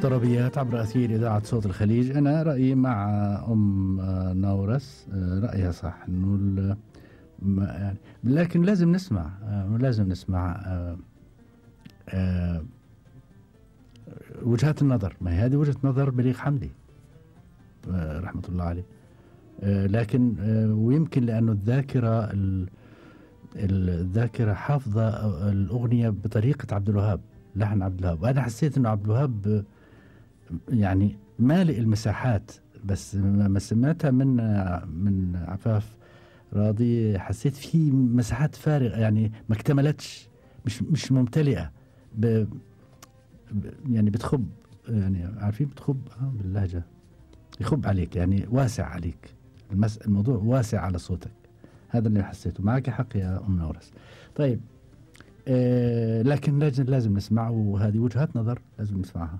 الطربيات عبر أثير إذاعة صوت الخليج. أنا رأيي مع أم نورس، رأيها صح إنه يعني لكن لازم نسمع، وجهات النظر. ما هذه وجهة نظر بليغ حمدي رحمة الله عليه، لكن ويمكن لأنه الذاكرة حافظة الأغنية بطريقة عبد الوهاب، لحن عبد الوهاب. وأنا حسيت إنه عبد الوهاب يعني مالئ المساحات، بس ما سمعتها من عفاف راضي حسيت في مساحات فارغة، يعني ما اكتملتش، مش ممتلئة، يعني بتخب، يعني عارفين بتخب باللهجة، يخب عليك، يعني واسع عليك، الموضوع واسع على صوتك. هذا اللي حسيته. معك حق يا أم نورس. طيب، لكن لازم نسمع، وهذه وجهات نظر لازم نسمعها.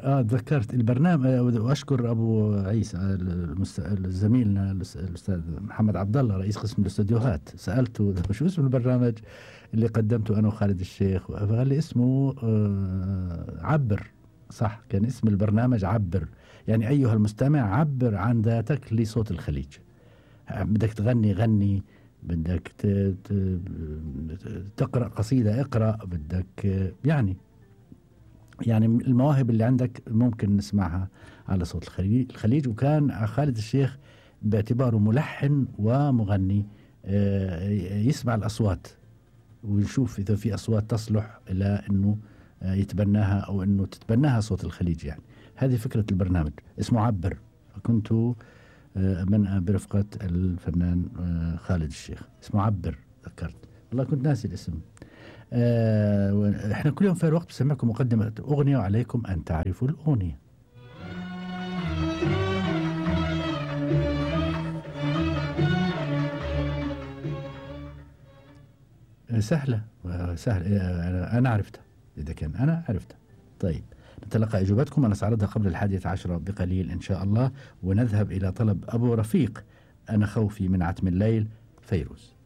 تذكرت البرنامج، وأشكر أبو عيسى زميلنا الأستاذ محمد عبد الله رئيس قسم الاستديوهات، سألته شو اسم البرنامج اللي قدمته أنا وخالد الشيخ، فقال لي اسمه عبر. صح، كان اسم البرنامج عبر، يعني أيها المستمع عبر عن ذاتك لصوت الخليج. بدك تغني غني، بدك تقرأ قصيدة اقرأ، بدك يعني المواهب اللي عندك ممكن نسمعها على صوت الخليج. وكان خالد الشيخ باعتباره ملحن ومغني يسمع الأصوات ويشوف إذا في أصوات تصلح إلى أنه يتبناها أو أنه تتبناها صوت الخليج. يعني هذه فكرة البرنامج، اسمه عبر. فكنت من برفقة الفنان خالد الشيخ، اسمه عبر. ذكرت والله كنت ناسي الاسم. احنا كل يوم في الوقت بسمعكم مقدمة أغنية، وعليكم أن تعرفوا الأغنية. سهلة. أنا عرفتها، إذا كان أنا عرفتها. طيب، نتلقى إجابتكم. أنا سأعرضها قبل 11 بقليل إن شاء الله، ونذهب إلى طلب أبو رفيق، أنا خوفي من عتم الليل، فيروز.